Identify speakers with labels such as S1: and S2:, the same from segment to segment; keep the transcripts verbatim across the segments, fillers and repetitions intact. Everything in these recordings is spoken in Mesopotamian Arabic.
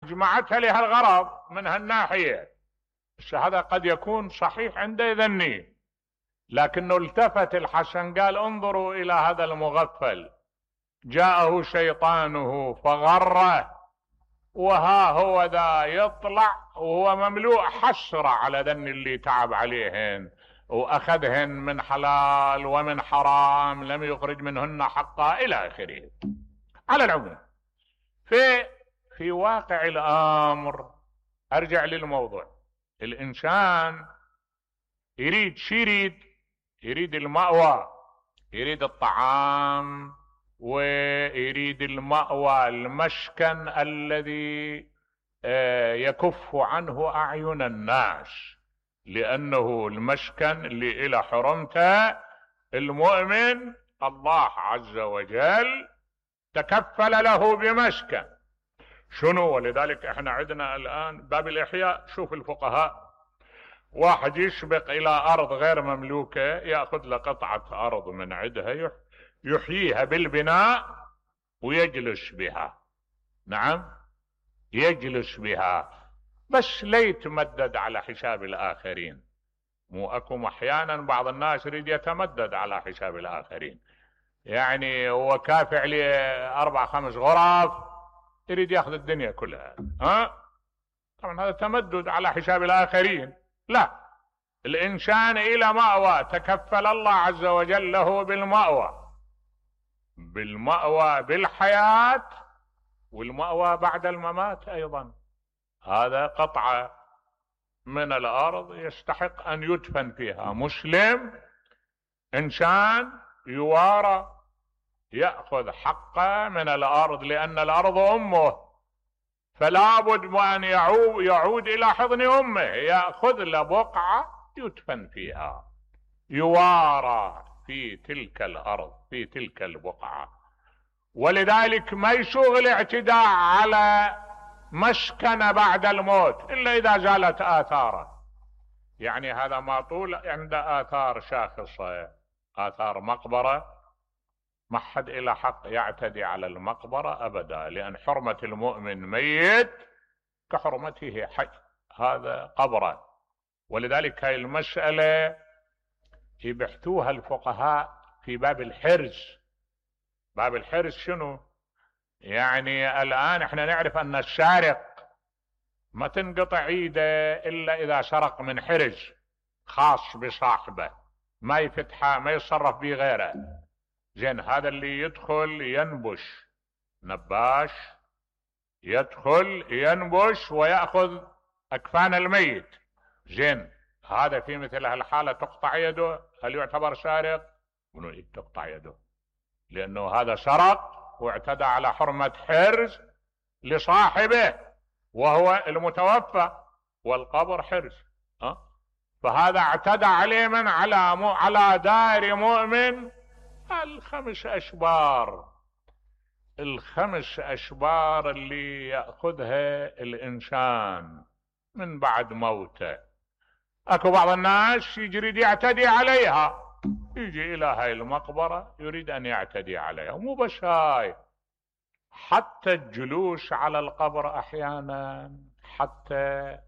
S1: جمعتها لهالغرض من هالناحية. هذا قد يكون صحيح عند ذني، لكنه التفت الحسن قال انظروا إلى هذا المغفل، جاءه شيطانه فغره، وها هو ذا يطلع وهو مملوء حسرة على ذن اللي تعب عليهن وأخذهن من حلال ومن حرام لم يخرج منهن حقا إلى آخره. على العموم في في واقع الأمر، أرجع للموضوع، الإنسان يريد شي يريد يريد المأوى، يريد الطعام، ويريد المأوى المسكن الذي يكف عنه أعين الناس، لأنه المسكن اللي إلى حرمته المؤمن الله عز وجل تكفل له بمسكن. شنو؟ ولذلك احنا عندنا الآن باب الإحياء، شوف الفقهاء، واحد يسبق إلى أرض غير مملوكة يأخذ له قطعة أرض من عندها يحييها بالبناء ويجلس بها، نعم يجلس بها، بس لا يتمدد على حساب الآخرين. مو أكو أحيانا بعض الناس يريد يتمدد على حساب الآخرين، يعني هو كافع لي أربع خمس غرف يريد ياخذ الدنيا كلها، ها طبعا هذا تمدد على حساب الآخرين. لا، الإنسان إلى مأوى تكفل الله عز وجل له بالمأوى، بالمأوى بالحياة، والمأوى بعد الممات أيضا. هذا قطعة من الأرض يستحق أن يدفن فيها مسلم، إنسان يوارى يأخذ حقه من الأرض، لأن الأرض أمه، فلا بد أن يعود, يعود إلى حضن أمه، يأخذ له بقعة يدفن فيها، يوارى في تلك الأرض في تلك البقعة. ولذلك ما يسوغ الاعتداء على مسكن بعد الموت إلا إذا زالت آثاره، يعني هذا ما طول عند آثار شاخصة، آثار مقبرة، ما حد إلى حق يعتدي على المقبرة أبدا، لأن حرمة المؤمن ميت كحرمته حي، هذا قبره. ولذلك هاي المسألة يبحثوها الفقهاء في باب الحرز. باب الحرز شنو؟ يعني الآن احنا نعرف أن السارق ما تنقطع ايده إلا إذا سرق من حرز خاص بصاحبه، ما يفتحه ما يتصرف به غيره. زين، هذا اللي يدخل ينبش، نباش يدخل ينبش ويأخذ أكفان الميت. زين، هذا في مثل هالحالة تقطع يده، هل يعتبر سارق؟ منو تقطع يده؟ لأنه هذا سرق واعتدى على حرمة حرز لصاحبه وهو المتوفى، والقبر حرز، أه؟ فهذا اعتدى عليه من على مو على دار مؤمن الخمس أشبار، الخمس أشبار اللي يأخذها الإنسان من بعد موته. أكو بعض الناس يريد يعتدي عليها، يجي إلى هاي المقبرة يريد أن يعتدي عليها. مو بس هاي، حتى الجلوس على القبر أحيانا حتى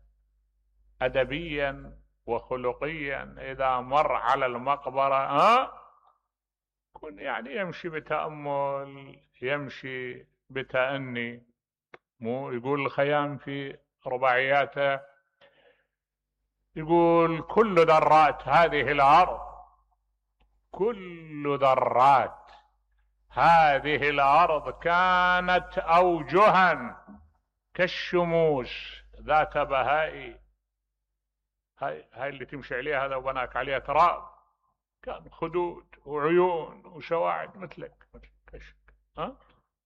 S1: أدبيا وخلقيا إذا مر على المقبرة ها كن يعني يمشي بتأمل، يمشي بتأني. مو يقول الخيام في رباعياته، يقول كل ذرات هذه الأرض كل ذرات هذه الأرض كانت أوجها كالشموس ذات بهاء. هاي, هاي اللي تمشي عليها هذا وبناك عليها تراب، كان خدود وعيون وسواعد مثلك مثلك كشك. ها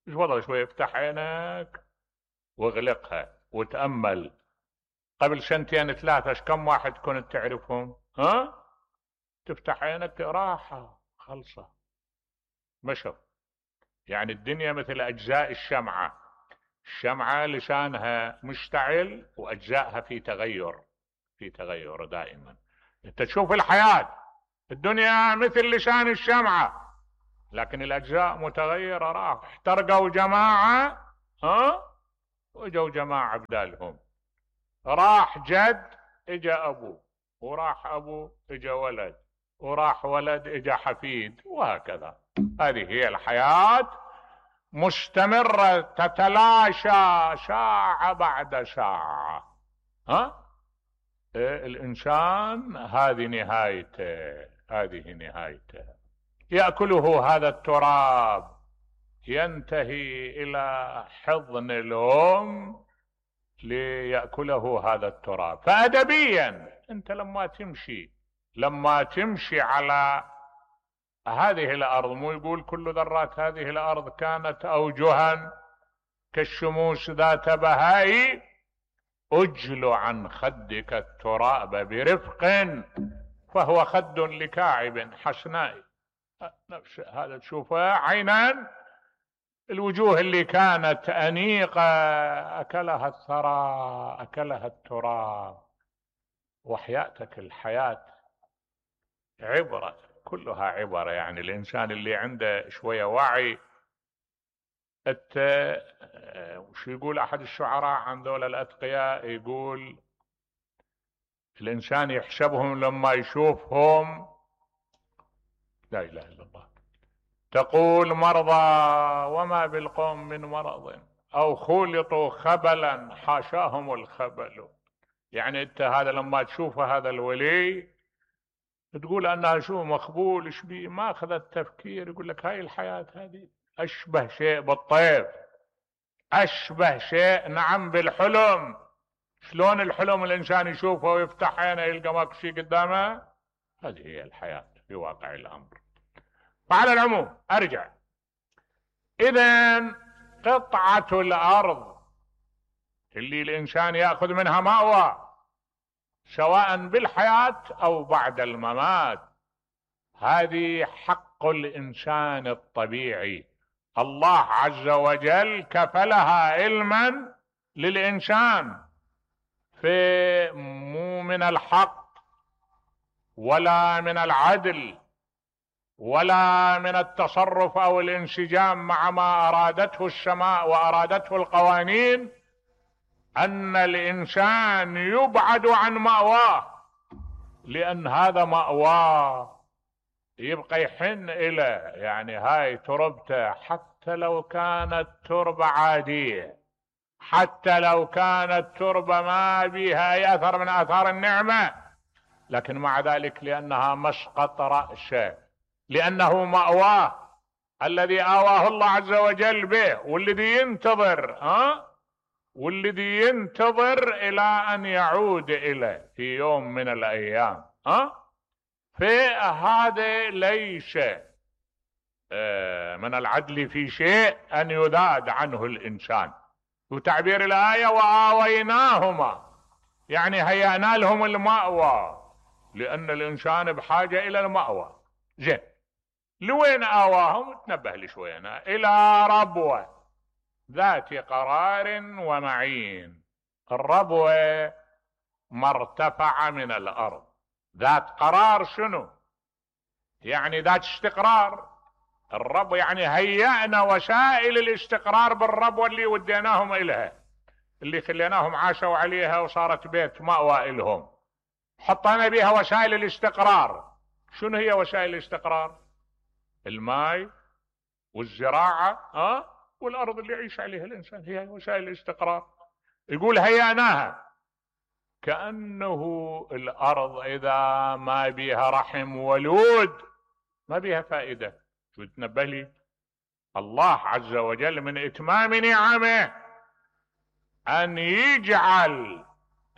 S1: ايش وضع؟ شوي افتح عينك واغلقها وتأمل. قبل سنتين ثلاثة كم واحد كنت تعرفهم؟ ها تفتح عينك راحة خلصة مشوا. يعني الدنيا مثل أجزاء الشمعة، الشمعة لسانها مشتعل وأجزائها في تغير في تغير دائما. انت تشوف الحياة الدنيا مثل لسان الشمعة، لكن الأجزاء متغيرة. راح احترقوا جماعة ها وجوا جماعة بدالهم، راح جد اجا ابوه، وراح ابوه اجا ولد، وراح ولد اجا حفيد، وهكذا. هذه هي الحياة، مستمرة تتلاشى ساعة بعد ساعة. ها إيه الانسان هذه نهايته، هذه نهايته. يأكله هذا التراب، ينتهي الى حضن الام ليأكله هذا التراب. فأدبيا انت لما تمشي لما تمشي على هذه الارض، مو يقول كل ذرات هذه الارض كانت اوجها كالشموس ذات بهاء، اجل عن خدك التراب برفق فهو خد لكاعب حسناء. نفس هذا تشوفه عينا، الوجوه اللي كانت أنيقة أكلها الثرى، أكلها التراب. وحياتك الحياة عبرة، كلها عبرة. يعني الإنسان اللي عنده شوية وعي، الت... وش يقول أحد الشعراء عن دول الأتقياء؟ يقول الإنسان يحسبهم لما يشوفهم، لا إله إلا الله، تقول مرضى وما بالقوم من مرض، أو خلطوا خبلا حاشاهم الخبل. يعني أنت هذا لما تشوفه هذا الولي تقول أنها شو مخبول، إيش بيه؟ ما أخذ التفكير، يقول لك هاي الحياة هذه أشبه شيء بالطيف، أشبه شيء نعم بالحلم. شلون الحلم الإنسان يشوفه ويفتح عينه يلقى ماكو شيء قدامه؟ هذه هي الحياة في واقع الأمر. فعلى العموم أرجع، إذن قطعة الأرض اللي الإنسان يأخذ منها مأوى سواء بالحياة أو بعد الممات، هذه حق الإنسان الطبيعي. الله عز وجل كفلها علما للإنسان، في مو من الحق ولا من العدل ولا من التصرف أو الانسجام مع ما أرادته السماء وأرادته القوانين أن الإنسان يبعد عن مأواه، لأن هذا مأواه يبقى يحن إلى، يعني هاي تربته حتى لو كانت تربة عادية، حتى لو كانت تربة ما بها أي أثر من آثار النعمة، لكن مع ذلك لأنها مسقط رأسه، لأنه مأواه الذي آواه الله عز وجل به، والذي ينتظر ها والذي ينتظر إلى أن يعود إليه في يوم من الأيام. ها فهذا ليس من العدل في شيء أن يذاد عنه الإنسان. وتعبير الآية وآويناهما، يعني هيأنا لهم المأوى، لأن الإنسان بحاجة إلى المأوى. زين، لوين آواهم؟ تنبه لي شوي أنا. إلى ربوة ذات قرار ومعين. الربوة مرتفعة من الأرض، ذات قرار شنو؟ يعني ذات استقرار. الرب يعني هيأنا وسائل الاستقرار بالربوة اللي وديناهم إليها، اللي خليناهم عاشوا عليها وصارت بيت مأوى إلهم، حطينا بها وسائل الاستقرار. شنو هي وسائل الاستقرار؟ الماء والزراعة أه؟ والأرض اللي يعيش عليها الإنسان، هي وسائل الاستقرار. يقول هيأناها، كأنه الأرض إذا ما بيها رحم ولود ما بيها فائدة. شو تنبه لي؟ الله عز وجل من إتمام نعمه أن يجعل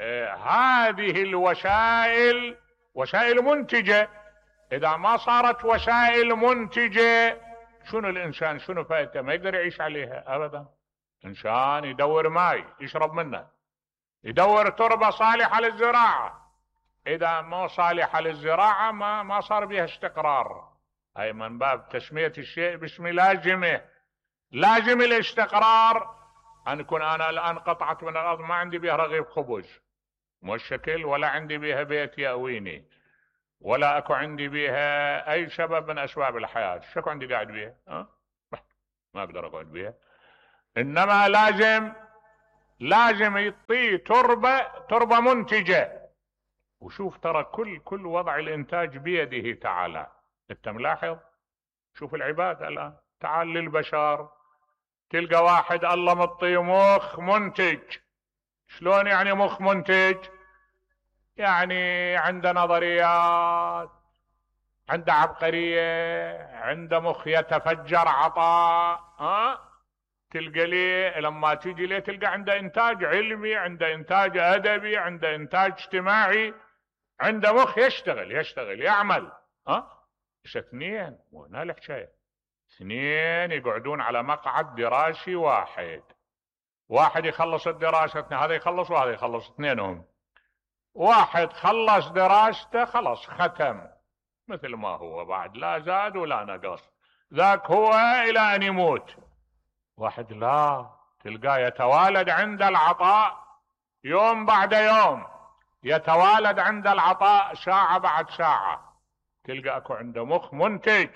S1: آه هذه الوسائل وسائل منتجة. إذا ما صارت وسائل منتجة شنو الإنسان شنو فائدته؟ ما يقدر يعيش عليها أبدا. إنسان يدور ماء يشرب منه، يدور تربة صالحة للزراعة، إذا ما صالحة للزراعة ما ما صار بها استقرار. هاي من باب تسمية الشيء باسم لازمه. لازم الاستقرار أن يكون أنا الآن قطعت من الأرض ما عندي بها رغيف خبز مشكل، ولا عندي بها بيت يأويني، ولا أكو عندي بها أي سبب من أسباب الحياة. شكو عندي قاعد بها؟ أه؟ ما أقدر أقعد بها. إنما لازم لازم يعطيه تربة تربة منتجة. وشوف ترى كل كل وضع الانتاج بيده تعالى. انت ملاحظ؟ شوف العباد الان، تعال للبشر تلقى واحد الله مطيه مخ منتج. شلون يعني مخ منتج؟ يعني عنده نظريات، عنده عبقرية، عنده مخ يتفجر عطاء. ها تلقى ليه لما تيجي ليه تلقى عنده انتاج علمي، عنده انتاج ادبي، عنده انتاج اجتماعي، عنده مخ يشتغل يشتغل يعمل. ها ايش اثنين؟ مو هنا الحكايه. اثنين يقعدون على مقعد دراسي واحد، واحد يخلص الدراسة، هذا يخلص وهذا يخلص، اثنينهم. واحد خلص دراسته خلص ختم مثل ما هو، بعد لا زاد ولا نقص، ذاك هو الى ان يموت. واحد لا، تلقاه يتوالد عند العطاء يوم بعد يوم، يتوالد عند العطاء ساعة بعد ساعة. تلقى اكو عنده مخ منتج.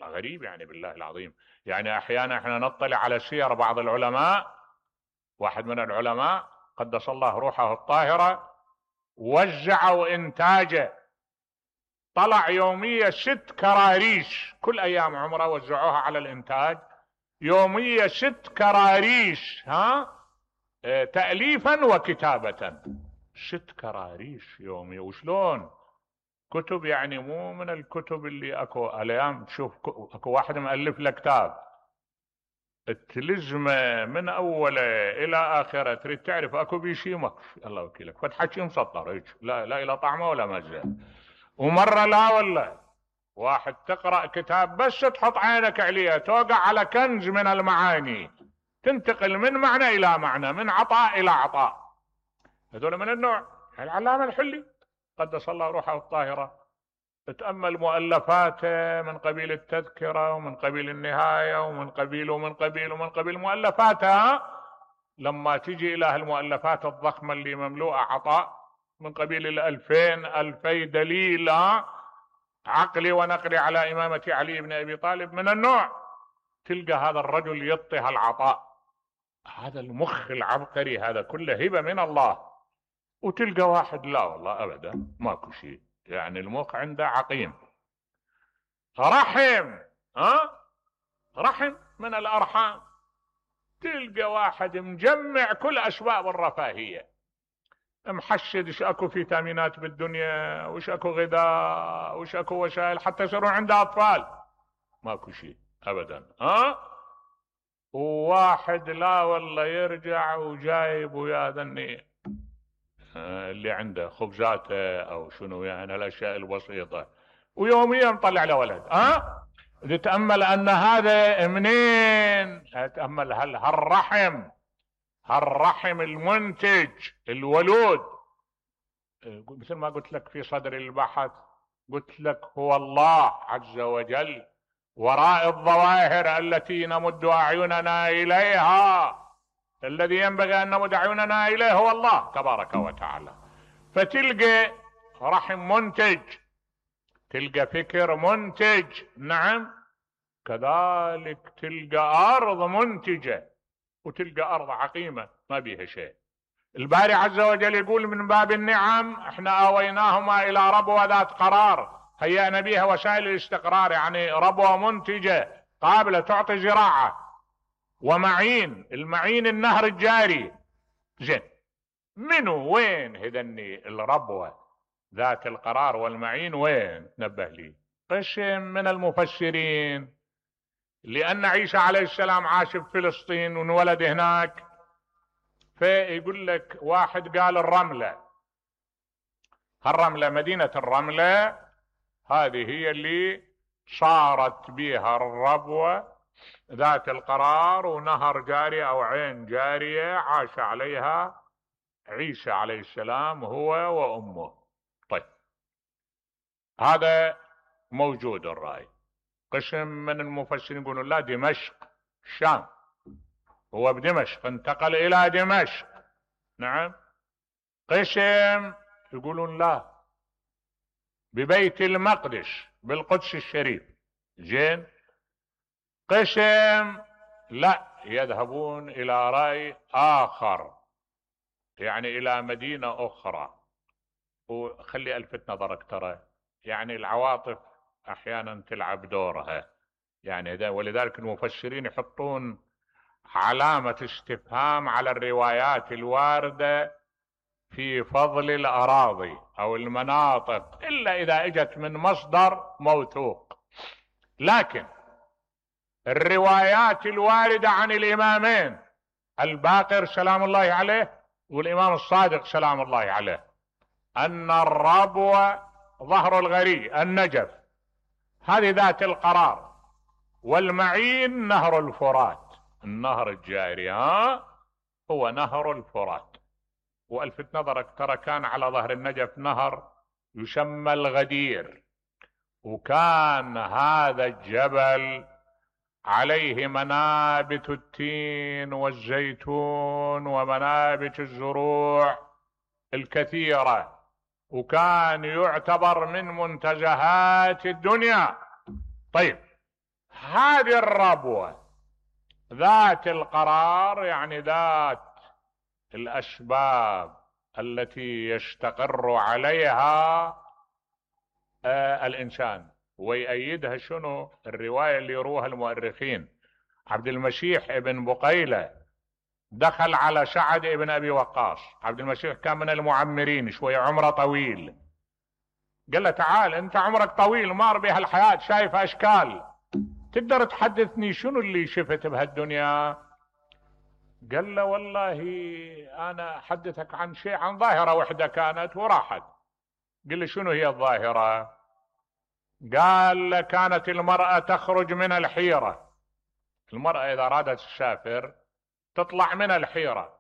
S1: غريب يعني بالله العظيم. يعني احيانا احنا نطلع على سير بعض العلماء، واحد من العلماء قدس الله روحه الطاهرة وزعوا انتاجه، طلع يومية ست كراريش، كل ايام عمره وزعوها على الانتاج، يومية ست كراريش. ها اه تأليفا وكتابة، ست كراريش يومية. وشلون؟ كتب يعني مو من الكتب اللي اكو الايام تشوف اكو واحد مؤلف له كتاب تلزمه من اوله الى اخره، تريد تعرف اكو بيشيمك الله وكيلك فتحكي مسطر هيك، لا لا الى طعمه ولا مزه. ومره لا والله واحد تقرا كتاب بس تحط عينك عليه توقع على كنز من المعاني، تنتقل من معنى الى معنى، من عطاء الى عطاء. هذول من النوع. العلامه الحلي قدس الله روحه الطاهره، تأمل مؤلفاته من قبيل التذكرة ومن قبيل النهاية ومن قبيل ومن قبيل ومن قبيل مؤلفاتها. لما تجي إلى المؤلفات الضخمة اللي مملوءة عطاء من قبيل الألفين ألفي دليل عقلي ونقلي على إمامة علي بن أبي طالب من النوع، تلقى هذا الرجل يطه العطاء، هذا المخ العبقري هذا كله هبة من الله. وتلقى واحد لا والله أبدا ماكو شيء، يعني المخ عنده عقيم. رحم، ها رحم من الأرحام، تلقى واحد مجمع كل أسباب الرفاهية، محشد ايش اكو فيتامينات بالدنيا، وش اكو غذاء، وش اكو وسائل حتى يصيرون عنده أطفال، ماكو شيء أبدا. ها وواحد لا والله يرجع وجايب ويا ذني اللي عنده خبزاته او شنو يعني الاشياء البسيطة، ويوميا طلع له ولد. ها تتأمل ان هذا منين؟ تتأمل هل هالرحم هالرحم المنتج الولود، مثل ما قلت لك في صدر البحث، قلت لك هو الله عز وجل وراء الظواهر التي نمد أعيننا إليها، الذي ينبغي أن نمد أعيننا إليه هو الله تبارك وتعالى. فتلقى رحم منتج، تلقى فكر منتج، نعم كذلك تلقى أرض منتجة، وتلقى أرض عقيمة ما بيها شيء. الباري عز وجل يقول من باب النعم احنا آويناهما إلى ربوة ذات قرار هيأنا بها وسائل الاستقرار، يعني ربوة منتجة قابلة تعطي زراعة. ومعين، المعين النهر الجاري. زين منو وين هذني الربوة ذات القرار والمعين وين؟ نبه لي. قسم من المفسرين لأن عيسى عليه السلام عاش في فلسطين وانولد هناك، فيقول لك واحد قال الرملة، الرملة مدينة الرملة هذه هي اللي صارت بها الربوة ذات القرار، ونهر جاري او عين جارية عاش عليها عيسى عليه السلام هو وامه. طيب هذا موجود الرأي. قسم من المفسرين يقولون لا، دمشق الشام، هو بدمشق انتقل الى دمشق. نعم. قسم يقولون لا، ببيت المقدس بالقدس الشريف. زين. قسم لا، يذهبون الى رأي اخر يعني الى مدينة اخرى. وخلي الفت نظرك ترى يعني العواطف احيانا تلعب دورها، يعني ولذلك المفسرين يحطون علامة استفهام على الروايات الواردة في فضل الاراضي او المناطق الا اذا اجت من مصدر موثوق. لكن الروايات الواردة عن الامامين الباقر سلام الله عليه والامام الصادق سلام الله عليه ان الربوة ظهر الغري النجف هذه ذات القرار، والمعين نهر الفرات، النهر الجاري ها هو نهر الفرات. والفت نظرك ترى كان على ظهر النجف نهر يسمى الغدير، وكان هذا الجبل عليه منابت التين والزيتون ومنابت الزروع الكثيرة، وكان يعتبر من منتزهات الدنيا. طيب هذه الربوة ذات القرار يعني ذات الأسباب التي يستقر عليها آه الإنسان، ويأيدها شنو الرواية اللي يروها المؤرخين. عبد المسيح ابن بقيلة دخل على سعد ابن أبي وقاص، عبد المسيح كان من المعمرين شوية عمره طويل، قال له تعال انت عمرك طويل مار بها الحياة شايف اشكال، تقدر تحدثني شنو اللي شفت بهالدنيا؟ قال له والله انا احدثك عن شيء، عن ظاهرة وحدة كانت وراحت. قال له شنو هي الظاهرة؟ قال كانت المرأة تخرج من الحيرة، المرأة اذا ارادت تسافر تطلع من الحيرة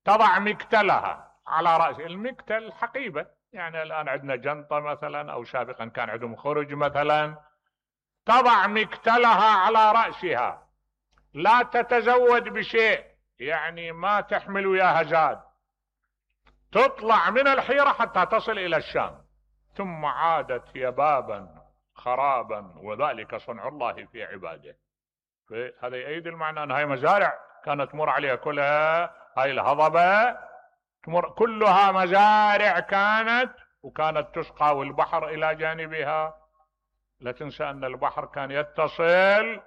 S1: تضع مكتلها على رأس المكتل حقيبة، يعني الآن عندنا جنطة مثلا أو سابقا كان عندهم خرج مثلا، تضع مكتلها على رأسها لا تتزود بشيء، يعني ما تحمل وياها زاد، تطلع من الحيرة حتى تصل إلى الشام، ثم عادت يبابا خرابا وذلك صنع الله في عباده. هذا يؤيد المعنى أن هاي مزارع كانت تمر عليها كلها، هاي الهضبة تمر كلها مزارع كانت، وكانت تسقى والبحر إلى جانبها. لا تنسى أن البحر كان يتصل،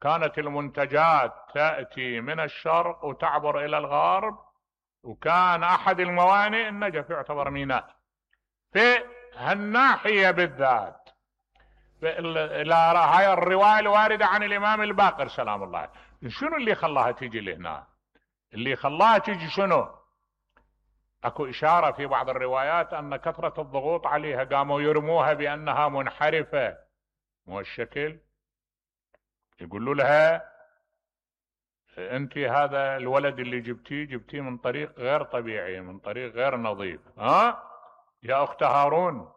S1: كانت المنتجات تأتي من الشرق وتعبر إلى الغرب، وكان أحد الموانئ النجف يعتبر ميناء. في هالناحية بالذات إلى هاي الرواية الواردة عن الإمام الباقر سلام الله عليه، شنو اللي خلاها تيجي لهنا؟ اللي خلاها تيجي شنو؟ اكو اشارة في بعض الروايات ان كثرة الضغوط عليها قاموا يرموها بانها منحرفة، مو الشكل يقولوا لها انت هذا الولد اللي جبتيه جبتيه من طريق غير طبيعي، من طريق غير نظيف، ها يا اخت هارون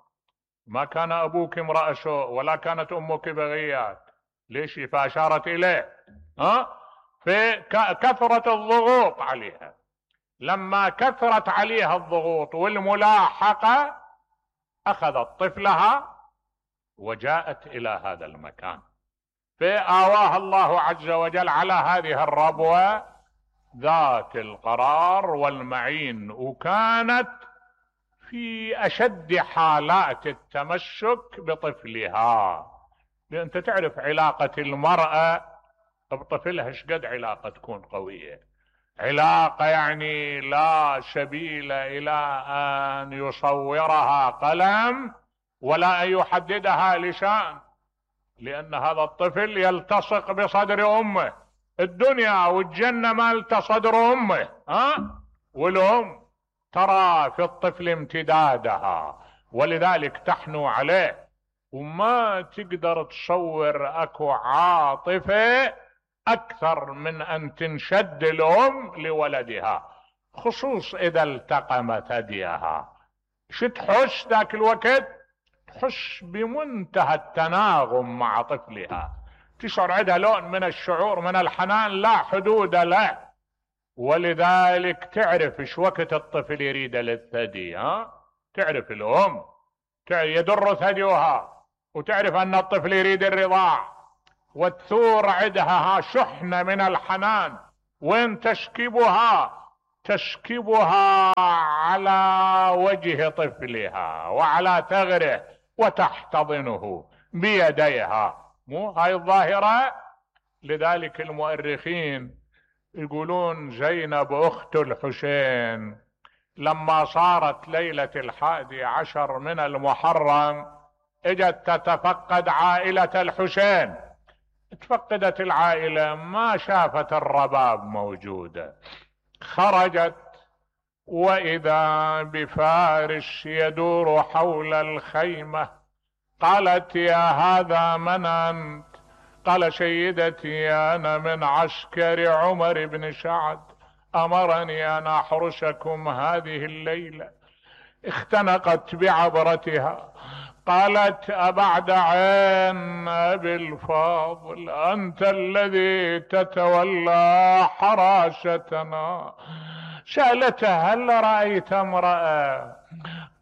S1: ما كان ابوك امرأ سوء ولا كانت امك بغيات، ليش؟ فاشارت اليه ها في كثرة الضغوط عليها. لما كثرت عليها الضغوط والملاحقة اخذت طفلها وجاءت الى هذا المكان، فآواها الله عز وجل على هذه الربوة ذات القرار والمعين، وكانت في اشد حالات التمسك بطفلها. لأن انت تعرف علاقة المرأة بطفلها شقد علاقة تكون قوية، علاقة يعني لا سبيل الى ان يصورها قلم ولا ان يحددها لسان، لان هذا الطفل يلتصق بصدر امه، الدنيا والجنة مالت صدر امه ها، والام ترى في الطفل امتدادها ولذلك تحنو عليه، وما تقدر تصور اكو عاطفة اكثر من ان تنشد الام لولدها، خصوص اذا التقمت ثديها. شو تحس ذاك الوقت؟ تحس بمنتهى التناغم مع طفلها، تشعر عندها لون من الشعور من الحنان لا حدود له، ولذلك تعرف ايش وقت الطفل يريد للثدي، ها تعرف الام يدر ثديها وتعرف ان الطفل يريد الرضاع، وتثور عندها ها شحنة من الحنان، وين تشكبها تشكبها على وجه طفلها وعلى ثغره وتحتضنه بيديها. مو هاي الظاهرة؟ لذلك المؤرخين يقولون زينب أخت الحسين لما صارت ليلة الحادي عشر من المحرم اجت تتفقد عائلة الحسين. تفقدت العائلة ما شافت الرباب موجودة، خرجت وإذا بفارس يدور حول الخيمة. قالت يا هذا من أنت؟ قال سيدتي أنا من عسكر عمر بن سعد، أمرني أن أحرسكم هذه الليلة. اختنقت بعبرتها قالت أبعد عين أبي الفاضل، أنت الذي تتولى حراستنا. سألته هل رأيت امرأة؟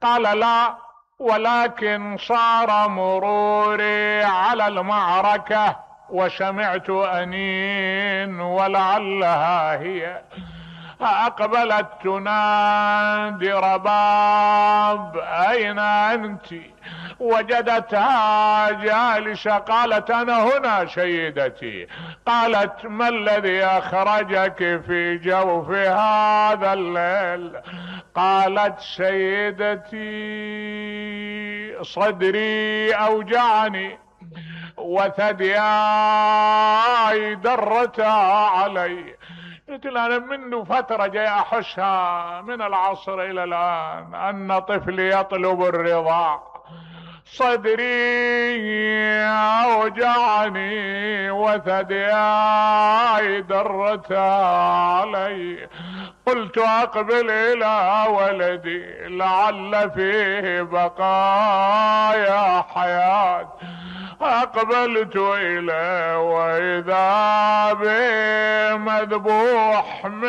S1: قال لا، ولكن صار مروري على المعركة وسمعت أنين ولعلها هي. أقبلت تنادي رباب أين أنت؟ وجدتها جالسة. قالت أنا هنا سيدتي. قالت ما الذي أخرجك في جوف هذا الليل؟ قالت سيدتي صدري أوجعني وثدياي درتها علي. قلت له أنا منذ فترة جاي أحسها من العصر إلى الآن أن طفلي يطلب الرضاع، صدري أوجعني وثدياي درتها علي. قلت أقبل إلى ولدي لعل فيه بقايا حياة. أقبلت إليه وإذا به مذبوح من